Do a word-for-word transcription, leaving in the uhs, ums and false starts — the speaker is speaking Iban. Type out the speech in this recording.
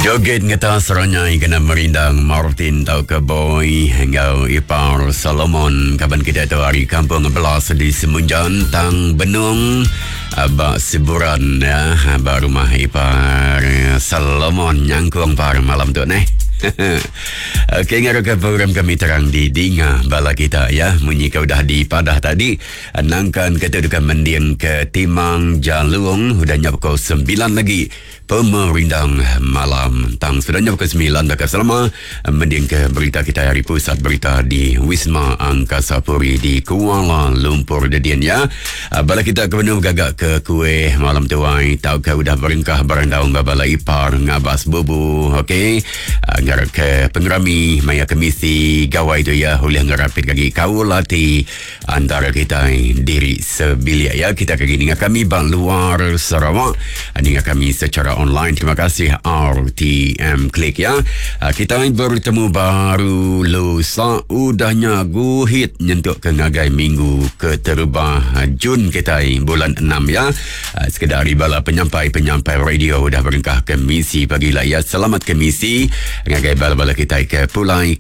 Joget ngetas seranyai kena merindang Martin tau ke boy enggau Ipar Solomon, kaban kita tu ari Kampung Belas di Semunjan Tang Benung ba Siburan ya, ba rumah Ipar Solomon nyangkung par malam tu neh. Okey, ngarap ke program kami terang di dinga bala kita ya. Munyi ke udah dipadah tadi, nangkan kita dekat mending ke Timang Jalung udah nyap pukul sembilan lagi pemerindang malam. Tang sudah nyap pukul sembilan dekat selama mending ke berita kita hari pusat berita di Wisma Angkasa Puri di Kuala Lumpur dedian ya. Bala kita ke benung gagak ke kuih malam tuai tau ke udah berengkah berandau bala ipar ngabas bubu, okey. Ngarap ke pengerami maya kemisi gawai tu ya boleh ngerapit lagi kaul hati antara kita diri sebilik ya. Kita kali dengan kami bang luar Sarawak, dengan kami secara online. Terima kasih R T M Klik ya. Kita bertemu baru lusa udahnya guhit nyentuk ke ngagai minggu keterubah Jun kita bulan enam ya. Sekedar bala penyampai-penyampai radio udah berengkah ke misi pagi lah ya. Selamat ke misi ngagai bala-bala kita ke pulai.